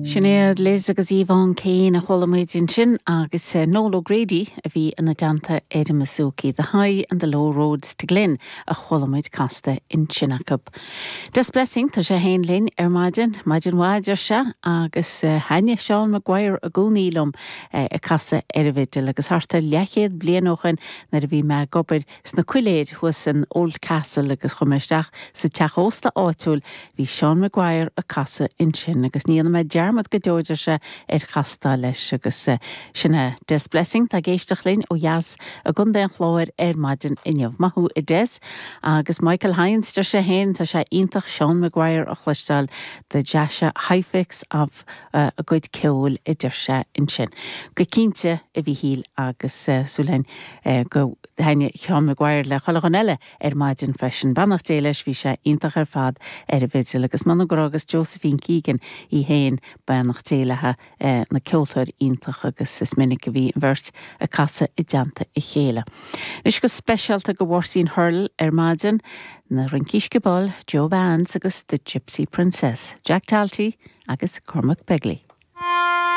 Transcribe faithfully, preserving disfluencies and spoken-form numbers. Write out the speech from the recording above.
Sinéad Liz agus Yvonne Kane a chuala muid ansin agus eh, Noel O'Grady a bhí ina dteannta ar an mbouzouki, The High and the Low Roads to Glin a chuala muid casta ansin acu. Des Blessing tá sé féin linn ar maidin, maidin mhaith se agus eh, thaitneodh Seán Maguire i gcónaí liom eh, ag casadh ar an bhfidil agus thart ar leathchéad bliain ó shin nuair a bhí mé ag obair sna coiléir thuas in Oldcastle agus chuaigh mé isteach sa teach ósta áitiúil bhí Seán Maguire ag casadh ansin agus ní dhéanfaidh mé dearmad go deo sé ar chastáil leis agus eh, sin é Des Blessing tá ag éisteacht linn ó dheas i gContae an Chláir ar maidin inniu maith thú a Des agus Michael Hines deir sé féin tá sé iontach Seán Maguire a chloisteáil the deise hifix of uh, a gcuid ceoil a deir sé ansin. Go cinnte a Mhichíl agus uh, súil uh, go dtaitneoidh Seán Maguire le chuile dhuine eile ar maidin freisin beannacht Dé leis bhí sé iontach ar fad ar an bhfidil agus man go agus Josephine Keegan í féin beannacht Dé léithi eh, na ceoltóir iontach agus is minic a bhí an bheirt ag casadh i dteannta a chéile. Anois go speisialta go Mháirtín Hurl ar maidin na Rincí Sciobóil, Joe Bands agus the Gypsy Princess, Jack Talty agus Cormac Begley.